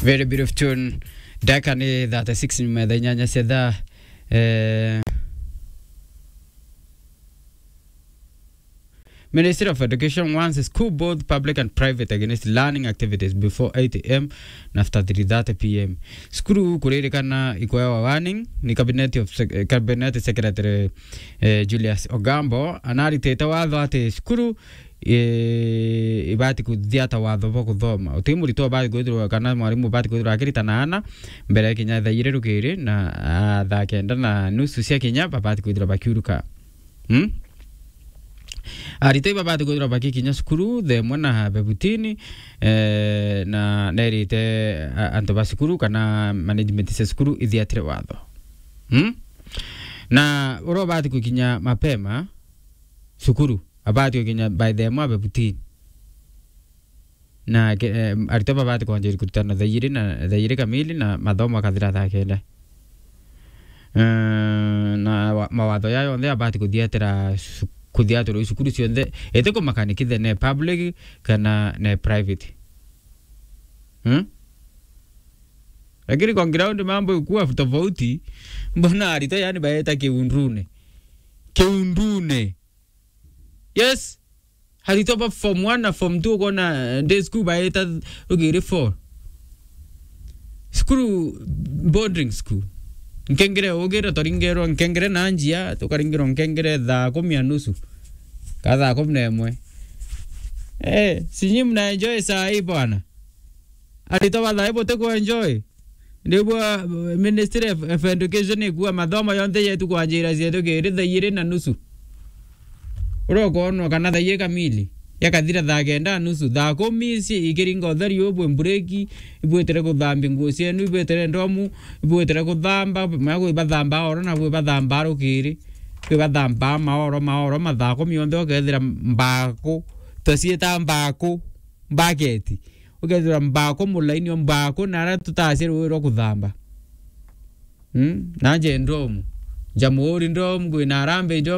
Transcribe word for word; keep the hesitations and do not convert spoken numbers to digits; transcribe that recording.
Very beautiful tune. Ndagika ni thirty-six nyuma ya thaa inyanya cia thaa. Eh, Ministry of Education warns school, both public and private, against learning activities before eight a m and after three thirty p m. Cukuru kuririkana ikuewa warning ni Cabinet of Sec-, eh, Cabinet Secretary, eh, Julius Ogambo, anaritite watho ati cukuru, eh, ibati kuthiata watho bwa kuthoma. Uti muritwa ubati kwithirwa kana mwarimu ubati kwithirwa akiritana ana mbere ya kinya thaa igiri rukiri na, ah, thaa kenda na nusu cia kinya babati kwithirwa bakiuruka. Hmm? Aritwa ibabati kwithirwa bakikinya cukuru thaa imwe na bebutini, eh, na nerite, a-, antu ba cukuru kana management cia cukuru ithiatire watho. Hmm? Na uria ubati kukinya mapema cukuru, abati gukinya by thaa imwe bebutini. Na ke-, eh, aritwa babati kwanjia kurutana thaa igiri na, thaa igiri kamili na mathomo akathira thaa kenda. Eh, na wa-, mawatho jaa jonthe abati kuthiatira cu-, kuthiatirwa i cukuru cionthe, iti kumakania kithe ne public kana ne private. Hmm? Lakini kwa ground mambo ikuwa tofauti, mbona aritwa yani baeta kiundune? Kiundune. Yes. Aritwa ba form one na form two ukona, eh, day school baeta rugiri four. Cukuru, boarding school. Nkengere ugira twaringerwa nkengere na njia, tukaringerwa nkengere thaa kumi na nusu. Ka thaa kumi na imwe. Eh, sinyi mna enjoy saa hii bwana. Aritwa ba thaa hii buti ku enjoy. Niguo, uh, Ministry of, of Education ikua mathomo yonthe yetu kwanjira cietu kiri thaa igiri na nusu. Uria ukwonwa kana thaa igiri kamili, yakathira thaa kenda na nusu, thaa kumi ici ikiringa utheri ubu, mbureki, ibwitire kuthambia nguo cienu, ibwitire ndomu, ibwitire kuthamba, maya kwi bathamba oro na kwi bathamba rukiri, kwi bathamba maoro, maoro, mathaa kumi yonthe ukethira mbaku, twaciita mbaku, mbaketi. Ukethirwa mbaku mulaini o mbaku, na aria tutacia ruui rwa kuthamba. Mm? Nanje ndomu. Njamuuri ndomu, kwina arambe ndomu,